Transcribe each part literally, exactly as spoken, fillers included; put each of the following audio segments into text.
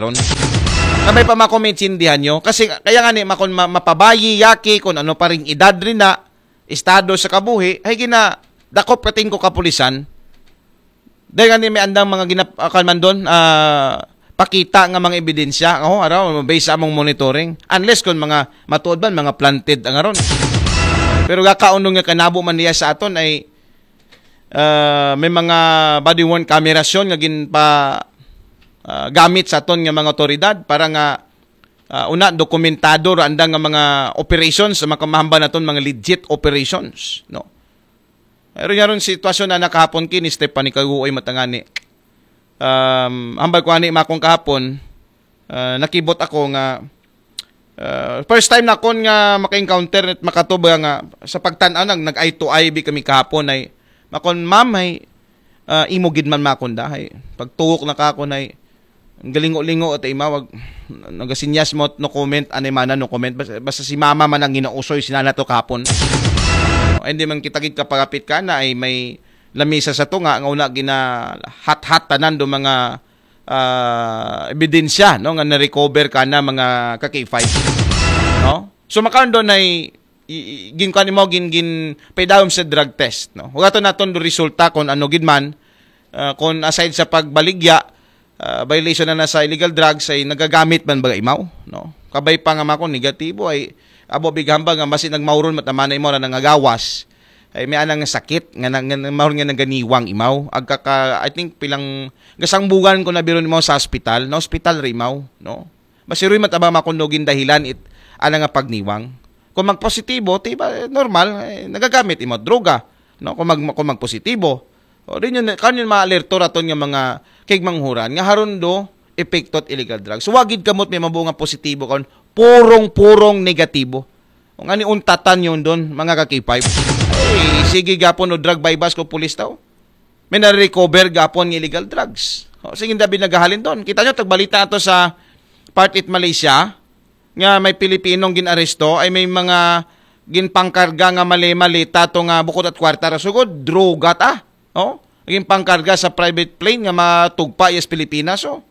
ron. Sabay pa mako maintindihan nyo. Kasi kaya nga ni, makon ma- mapabayi, yaki, kung ano pa ring edad rin na, estado sa kabuhi, ay gina, dakop kating ko kapulisan. Dahil nga ni may andang mga ginap-, ah, kan man doon, ah, pakita nga mga ebidensya, oh, araw, based sa among monitoring. Unless kung mga matuod ba, mga planted ang aron. Pero gakaunong nga kanabo man niya sa aton ay, ah, may mga body-worn cameras yun nga ginpa, ah, gamit sa aton nga mga otoridad para nga, ah, una, dokumentado ra andang nga mga operations sa makamahamba naton mga legit operations, no? Pero nga ron sitwasyon na nakahapon kini Stephanie Kaguoy matangani. Um, hambal ko ani makong kahapon, ah, nakibot ako nga, ah, first time na kon nga maka-encounter at makatuba nga sa pagtan-aw nag nag-eye to eye bi kami kahapon ay makon ma'am ay, ah, imo gid man makon da ay pagtuwok na ka ako ay ang galingo-lingo at imawag nagasinyas mo no comment anay mana no comment basta, basta si mama man ang ginausoy sinana to kahapon. Ay, hindi man kita gid kapagapit ka na ay may lamisa sa tunga nga una ginahat-hat tanan do mga, ah, ebidensya, no, nga na-recover ka na mga ka K five, no? So makaron doon ay i- i- gin kuan mo gin gin paidawom sa drug test, no? Hugaton naton do resulta kung ano gid man, ah, kung aside sa pagbaligya, ah, violation na na sa illegal drugs ay nagagamit man ba imaw, no? Kabay pa nga mako negatibo ay abo big hambal nga basi nagmauron matamanay mo na nangagawas ay may anang sakit nga, nga, nga mahon nga naganiwang imaw agka ka, I think pilang gasangbugan ko na biro nimo sa hospital, na hospital ra imaw, no? Masiroy man taba makundogin dahilan it ana nga pagniwang. Kung magpositibo, ti ba normal eh, nagagamit imo droga, no? Kung mag kung magpositibo, o din yun kan yun maalerto raton nga mga kigmanghuran nga haron do epekto at illegal drugs. So, wagid kamot may mabuo nga positibo kon purong-purong negatibo. Kung ani untatan yun doon, mga ka-K five. Ay, sige gapon o drug buy-bust ko pulis tao. May nare-recover gapon ng illegal drugs. O, sige, dabi naghahalin doon. Kita nyo, tagbalita ato sa Part it Malaysia, nga may Pilipinong ginaresto, ay may mga ginpangkarga nga mali-mali, tato nga bukod at kwarta, ra sugod, droga ta. O, ginpangkarga sa private plane nga matugpa iyas Pilipinas, o.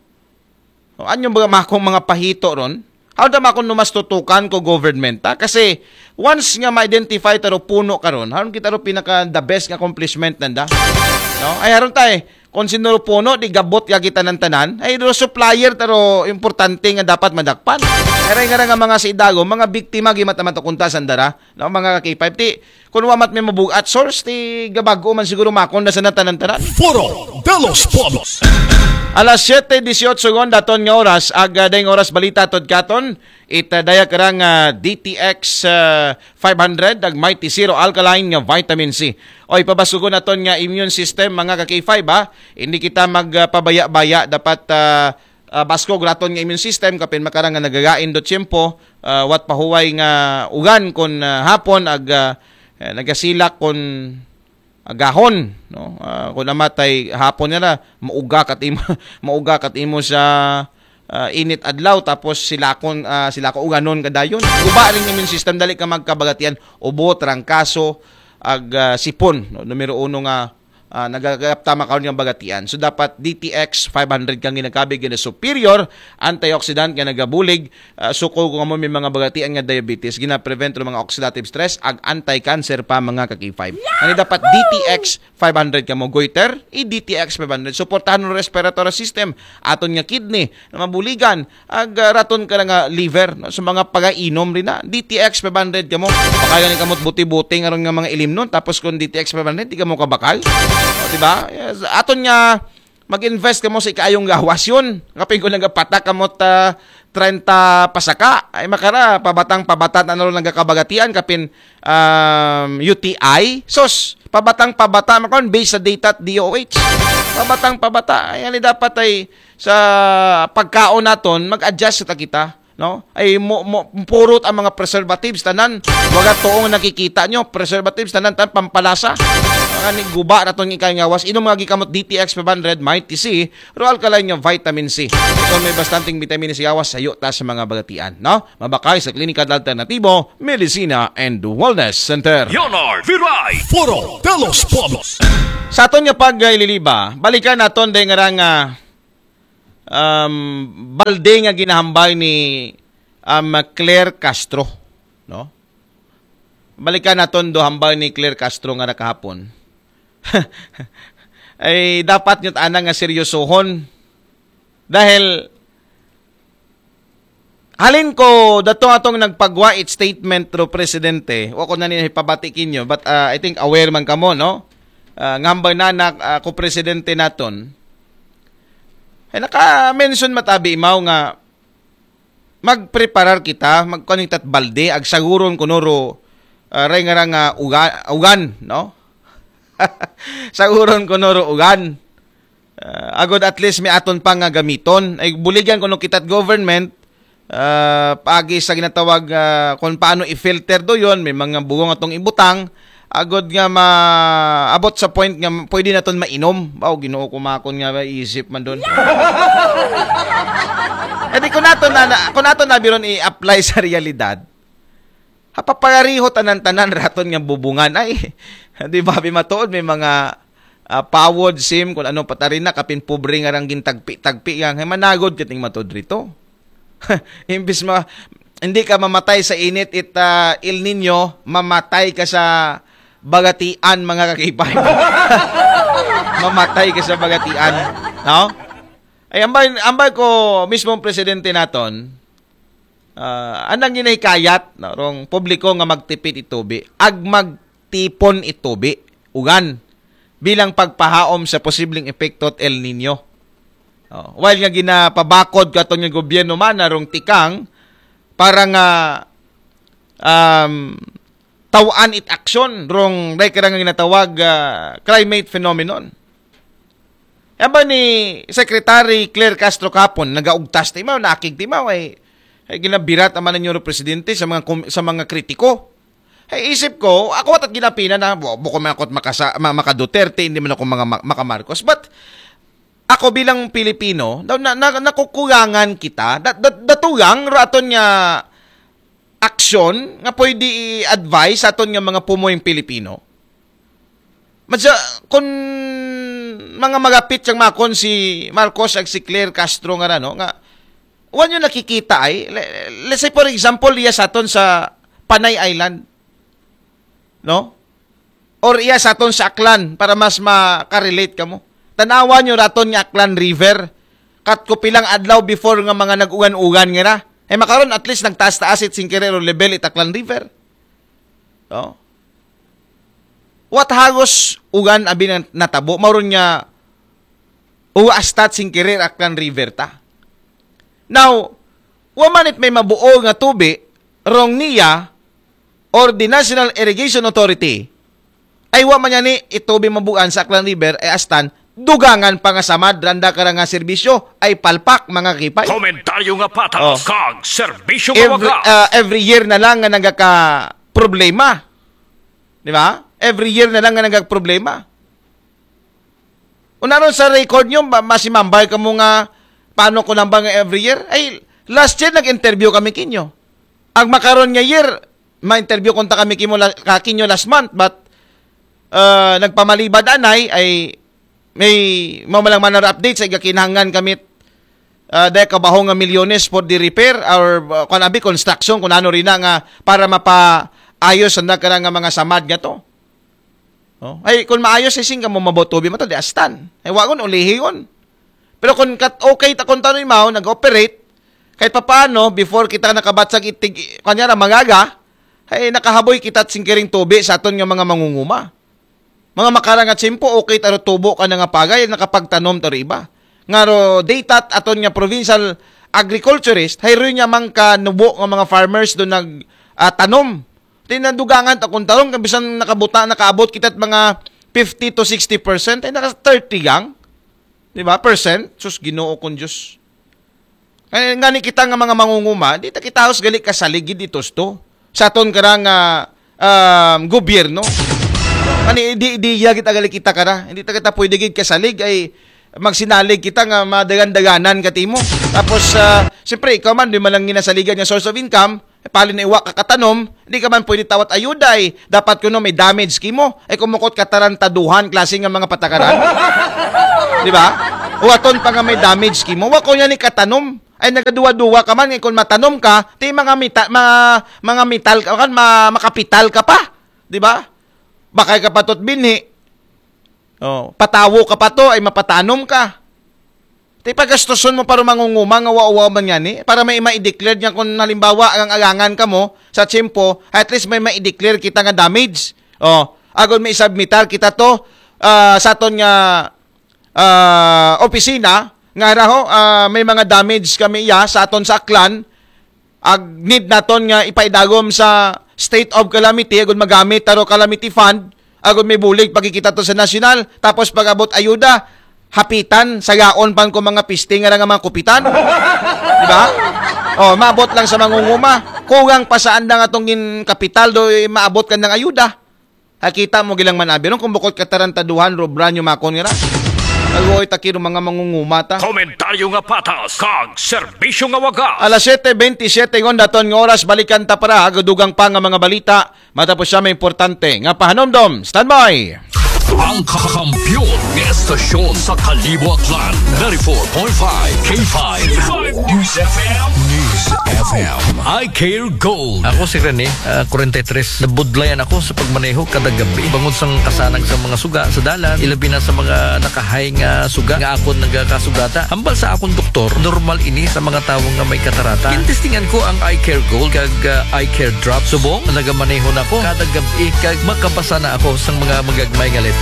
O, anyo ba makong mga pahito ron? How da makong numas tutukan ko government, ha? Kasi, once nga ma-identify taro puno karon, haron kita ro pinaka the best nga accomplishment nanda. No? Ay, haron tay, kung sino ro puno, di gabot ka kita ng tanan, ay ro supplier taro importante nga dapat madakpan. Eray nga ra nga mga sa Idago, mga biktima, gimat naman to kunta sandara, no? Mga ka K five, ti, kung wa mat may mabugat source, ti gabag-o man siguro makon na sa natanan-tanan. Foro de los Pueblos. Alas siyete dieciocho gon daton nga oras, ag, ah, dayng oras balita tod katon, it, ah, daya karang, ah, D T X, ah, five hundred, ag Mighty Zero Alkaline nga vitamin C. Oy, pabasugon naton nga immune system, mga ka K five, ha? Hindi kita magpabaya-baya, dapat, ah, ah, baskog raton nga immune system, kapin makarang nga nagagain do tiyempo, ah, wat pahuway nga ugan kon, ah, hapon, ag, ah, eh, nagasilak kon agahon, no? Ah, kung namatay hapon niya na, mauga kat imo, mauga kat imo sa, ah, init adlaw, tapos silakon, ah, silako uganon kadayon. Guba rin immune system, dali ka magkabagatian, ubo, trangkaso, ag, ah, sipon, no? Numero uno nga, ah, nagagapta makaon nga bagatian. So, dapat D T X five hundred kang ginagkabig na superior antioxidant nga nagabulig, ah, suko kung amo may mga bagatian nga diabetes, gina-prevent ro mga oxidative stress, ag anti-cancer pa mga ka K five. Ani dapat D T X five hundred kamo goiter, i D T X five hundred. Suportahan ang respiratory system, aton nga kidney, na mabuligan, ag, ah, raton ka na nga liver, no? So mga pagainom rin na, D T X five hundred kamo. Baka gani kamot buti-buti nga ron nga mga ilimnon, tapos kung D T X five hundred, di kamo kabakal. O, di ba? Yes. Aton nga, mag-invest kamo sa ikaayong gawas yun. Kapag ko nagapatak kamo ta treinta pasaka, ay makara, pabatang pabata na ron nagkakabagatian, kapin, um, U T I. Sos, pabatang pabata, makon, based sa data at D O H. Pabatang pabata, ay, ani dapat ay sa pagkaon naton, mag-adjust sa kita, no? Ay mo, mo purot ang mga preservatives tanan. Waga tuong nakikita nyo, preservatives tanan tan pampalasa. Mga ni guba na tong ikay ngawas, inom nga gikamot D T X five hundred, Mighty C, Royal Alkaline nga vitamin C. Ito may bastanteng vitamin C gawas sayo ta sa mga bagatian, no? Mabakay sa klinika alternatibo, medisina and wellness center. Leonard Viray, Foro de los Pueblos. Sa aton nga pag-ililiba, balikan naton day nga rang, ah, um, balde nga ginahambal ni um, Claire Castro, no? Balikan naton do hambal ni Claire Castro nga nakahapon. Ay dapat nyo ana nga seryosohon. Dahil halin ko dato atong nagpagwa it statement ro presidente. Wa ko na niya ipabati kinyo, but uh, I think aware man kamo, no? Uh, nga hambal na na uh, ko presidente naton. Ay naka-mention matabi imaw nga magpreparar kita, magkuan kita balde, ag saguron kuno ro uh, ray nga nga uga, ugan, no? Saguron kuno ro ugan. Uh, agod at least may aton pa nga gamiton. Ay buligan kuno kita't government uh, paagi sa ginatawag uh, kung paano i-filter do yon, may mga bugong atong ibutang agod nga maabot sa point nga pwede naton mainom. Bawo Ginoo ko makon nga ba isip man don. Edi kung nato na, na kung nato na biron i-apply sa realidad, hapapagariho tanan-tanan raton nga bubungan ay. Di ba bimatuod may mga uh, pawod sim kung ano patari na kapin pobre nga rang gintagpi-tagpi yang hay managod kating matod rito. Imbis ma hindi ka mamatay sa init it uh, El Nino, mamatay ka sa bagatian mga kakipay. Mamatay ka sa bagatian, no? Ay ambay ambay ko mismong presidente naton uh, anang ginahikayat no, rong publiko nga magtipid itubi, ag magtipon itubi, ugan bilang pagpahaom sa posibleng epekto at El Nino. Oh, while nga ginapabakod katon nga gobyerno man narong tikang para nga um, tawaan it aksyon rong dai kara nga ginatawag uh, climate phenomenon. Aba ni Secretary Claire Castro kapon nagaugtas timaw, nakig timaw ay, ay ginabirat ang mananyo presidente sa mga sa mga kritiko. Ay isip ko, ako at ginapina na bukod man ako makasa, maka Duterte, hindi man ako mga maka Marcos. But ako bilang Pilipino, na, na, nakukulangan kita, dat, dat, datugang raton nga aksyon nga pwede i-advise aton nga mga pumoyng Pilipino. Madya, kung mga magapit siyang makon si Marcos ag si Claire Castro nga rano, nga, wan yung nakikita ay, let's say for example, iya sa aton sa Panay Island, no? Or iya sa aton sa Aklan para mas makarelate kamo. Tanawan nyo raton nga Aklan River. Kat ko pilang adlaw before nga mga nag-ugan-ugan nga na. Eh makaron at least nagtaas-taas it singkirero level it Aklan River. No? What hagos ugan abi nang natabo mauron nga uwa astat singkirir Aklan River ta. Now, wa man it may mabuo nga tubi rong niya or the National Irrigation Authority, ay wa man yani itobi mabuan sa Aklan River ay astan dugangan pa nga samad randa kara nga serbisyo ay palpak mga kipay. Komentaryo nga patas Oh. kag serbisyo nga Every, wagas. uh, every year na lang nga nagaka problema. Di ba? Every year na lang nga nagaka problema. Unaron sa record nyo, ma- masimambay ka mo nga paano ko nambang every year? Ay, last year nag-interview kami kinyo. Ang makaron nga year, ma-interview konta kami kimo la- ka kinyo last month, but uh, nagpamalibad anay ay may mamalang manar update sa igakinhangan kami uh, dahil kabaho nga milyones for the repair or uh, kung abi construction kung ano rin na nga para mapaayos ang nagkara nga mga samad nga to. Oh? Ay, kung maayos ay sing ka mo mabotobi mo to, di astan. Ay, wagon, ulihigon. Pero kung kat okay ta kung tanoy mao, nag-operate, kahit papaano, before kita nakabatsag itig, kanya na mangaga, ay nakahaboy kita singkiring tubi sa aton nga mga mangunguma. Mga makarangat simpo, okay taro tubo ka na nga pagay, nakapagtanom taro iba. Nga ro, data aton nga provincial agriculturist, hay ro niya mang kanubo nga mga farmers do nag ah, tanom. Tinadugangan ta kung tarong, kung bisan nakabuta, nakaabot kita mga fifty to sixty percent, ay naka thirty gang. Di ba? Percent? Sus, ginoo kong Diyos. Kaya nga ni kita nga mga mangunguma, di ta kita halos gali kasaligid itos to. Sa aton karang uh, um, gobyerno. Kani di di iya kita gali kita kara. Hindi ta kita pwede gid kasalig ay magsinalig kita nga madagan-daganan katimo. Tapos uh, siyempre ikaw man di man lang ginasaligan nga source of income, pali na iwa ka katanom, hindi ka man pwede tawat ayuda ay dapat kuno may damage kimo. Ay kumukot ka tarantaduhan klase nga mga patakaran. Di ba? O aton pa nga may damage kimo. Wa ko niya ni katanom. Ay nagaduwa-duwa ka man, kung matanom ka, ti mga mita, mga, mga metal ka, kan, ma, makapital ka pa. Di ba? Bakay ka pa to't binhi. Oh, patawo ka pa to, ay mapatanom ka. Ti pagastuson mo para mangunguma nga wa-, wa man ngani, para may ma-declare niya kung halimbawa ang alangan ka mo sa tiyempo, at least may ma-declare kita nga damage. Oh, agon may submitar kita to ah, sa aton nga ah, opisina nga raho ah, may mga damage kami iya sa aton sa Aklan, ag need naton nga ipaidagom sa state of calamity agon magamit taro calamity fund agon may bulig pagkikita to sa nasyonal, tapos pag-abot ayuda hapitan sa yaon pan ko mga piste nga nga mga kupitan, di ba? Oh, maabot lang sa mangunguma, kulang pa sa andang atong gin kapital do eh, maabot kan ng ayuda. Hakita mo gilang manabi ron kung bukod katarantaduhan, Rob Ranyo Makon nga ra. Agoy, takiro mga mangungumata. Komentaryo nga patas, kag serbisyo nga wagas. Alas siyete bentisiete ngon daton nga oras, balikan ta para hagadugang pa nga mga balita. Matapos siya may importante nga pahanomdom. Standby! Ang kakampiyon nga estasyon sa Kalibo Aklan, ninety-four point five K five News F M. News F M. I Care Gold. Ako si Rene, ah, forty-three. Nabudlayan ako sa pagmaneho kada gabi. Bangod sang kasanag sa mga suga sa dalan, ilabi na sa mga nakahay nga suga nga akon nagakasugata. Hambal sa akon doktor, normal ini sa mga tawo nga may katarata. Gintestingan ko ang Eye Care Gold kag, ah, Eye Care Drop. Subong, nagamaneho na ko kada gabi kag makabasa na ako sang mga magagmay nga letra.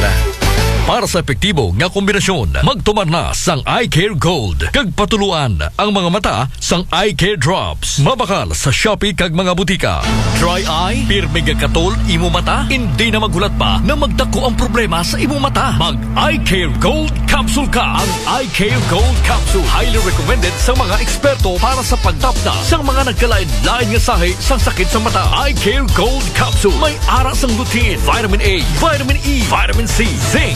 Para sa epektibo nga kombinasyon, magtumar na sang Eye Care Gold kag patuluan ang mga mata sang Eye Care Drops. Mabakal sa Shopee kag mga butika. Dry eye, pirmi nga katol imo mata, hindi na maghulat pa na magdako ang problema sa imo mata. Mag Eye Care Gold Capsule ka. Ang Eye Care Gold Capsule highly recommended sa mga eksperto para sa pagtapna sa mga nagkalain-lain nga sahi sa sakit sa mata. Eye Care Gold Capsule may ara sang lutein, vitamin A, vitamin E, vitamin C, zinc,